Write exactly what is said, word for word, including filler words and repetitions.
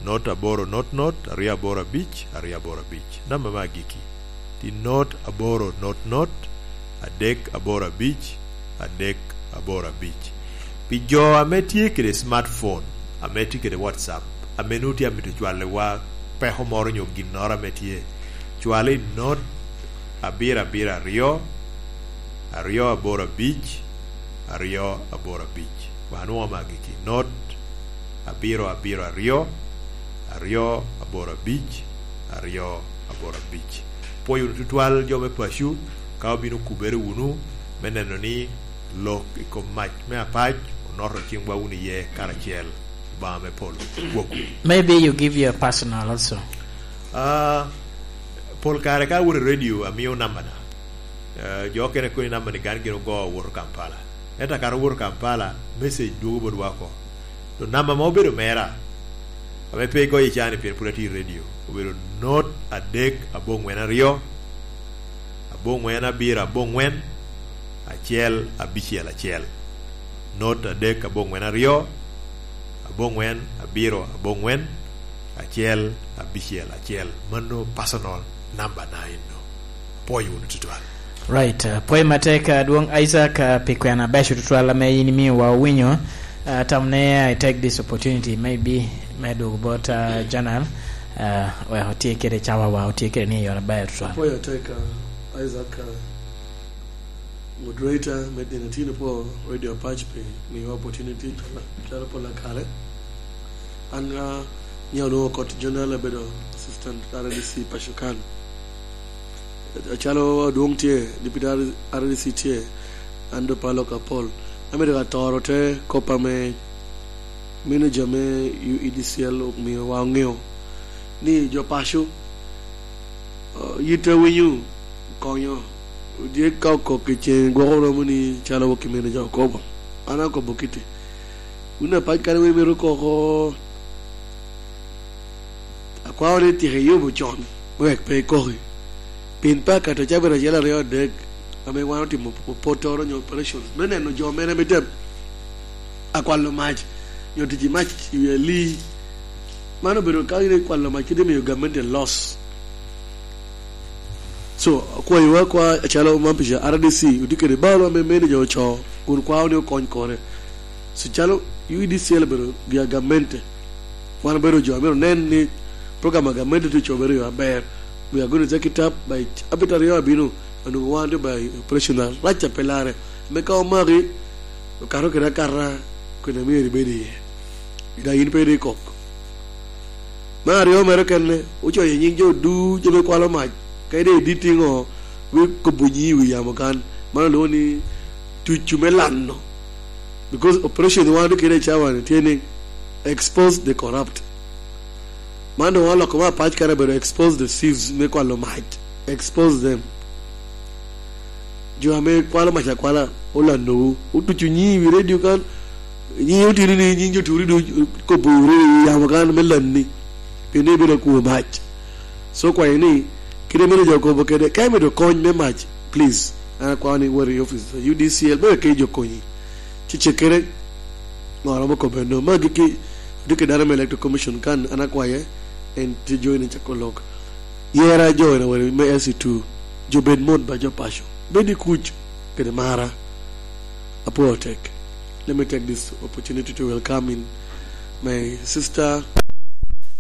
not aboro not not, aryo aboro abic, aryo aboro abic. Namba me agikki, tye not aboro not not, adek aboro abic, adek aboro abic. Pi jo ame tye kede smartphone, ame tye kede WhatsApp, ame nwoŋo tye amito cwalliwa peko moro nyo ginnoro ame tye, cwal i not abiro abiro aryo, aryo aboro abic, aryo aboro abic. Wan nwoŋo magi ki not abiro abiro aryo, aryo aboro abic, aryo aboro abic. Pwoyo wunu tutwal jo me paco ka obino kubere wunu me neno ni lok i kom mac me apac onoto ciŋwa wunu iye karacel. Obaŋa me polo gwokwu. Maybe you give your personal also. Ah, pol kare ka awot i radio, amio nambana. Eh, jo okene kono i namba-ni gan gin ogo owoto Kampala. Ento akato owoto Kampala, message dwogo botwa oko. To namba ma obedo mera, ame pe igoyo i caa-ni pien pwod atye i radio, obedo not adek aboŋwen aryo, aboŋwen abiro aboŋwen, acel abicel acel. Not adek aboŋwen aryo, aboŋwen abiro aboŋwen, acel abicel acel. Mano personal number na eno. Apwoyo wunu tutwal. Right, uh, pwoyo matek, uh, Adwoŋ Isaac, uh, pi kwena abeco tutwal ame in imiyowa owinyo. Uh, tam ne I take this opportunity, maybe, me dwogo bot, uh, General, uh, wek otye kede cawawa, otye kede ni i yore aber tutwal. Apwoyo atek, uh, Isaac, uh, moderator me Dina Tino po Radio Apac pi miyo opportunity calo, calo pol akare. An, ah, nyo onwoŋo kot Jonel abedo assistant R D C paco kan. Acalo adwoŋ tye, deputy R D C tye, an do palo ka pol. Amito ka toro te kop ame manager me U E D C L omiowa oŋeo ni jo paco, ah, yit awinyo konyo. Dyek ka okok i ceŋ gwoko romo ni calo wok i mene jo okobo. An akobo kiti. Wun apac kare wer mito koko, akwao ni tika iyubo con, wek pe ikoki. Pien pe akato cabit acel aryo adek, ame wan otimo pottoro nyo operations, me neno jo mene ame tye akwalo mac, nyo tic i mac i wi alii. Man obedo ka in ikwalo mac kede miyo gamente loss. So, akwayowa kwa acalo man pica R D C, otye kede balo ame manager ocoo, kun kwao ni okony kore. So, calo U E D C L obedo gi a gamente, wan obedo jo amito nen ni program a gamente tye ocobere i yo aber. We are going to take it up by abit aryo abino, onwoŋo wan tye by operation arac a pe larre. Me ka omaki, okato kede akata, kwene myero ibed iye. Ida in pe iri kok. Me aryo mere kene, ocoyo nying jo ducu ame kwalo mac, ka ide idit iŋo, we kobo nyii i wi yamo kan. Man olwoŋo ni tucu me lano. Because operation wan tye kede i cawa-ni tye ni expose the corrupt. Man doŋ oloko me apac kare obedo expose the thieves me kwalo mac. Expose them. Jo ame kwalo mac akwala olanowu, otuco nyii i wi redio kan, nyii otino ni nying jo turi du kobo wunu i yamo kan me lanni, pien ni ibedo akwo mac. So kwayo ni, kite mene jo okobo kede, ka imito kony me mac, please, an akwao ni wot i office U D C L, me wek kec okonyi. Ci cekkere, ŋo romo kobo eno. Ma giki, odiki dano me Electoral Commission kan, an akwaye, en tye join i cako lok. Yera join awere me S C two, jo bed mot ba jo paco. Bed i kuc, kede mara. Apwoo tek. Let me take this opportunity to welcome in my sister,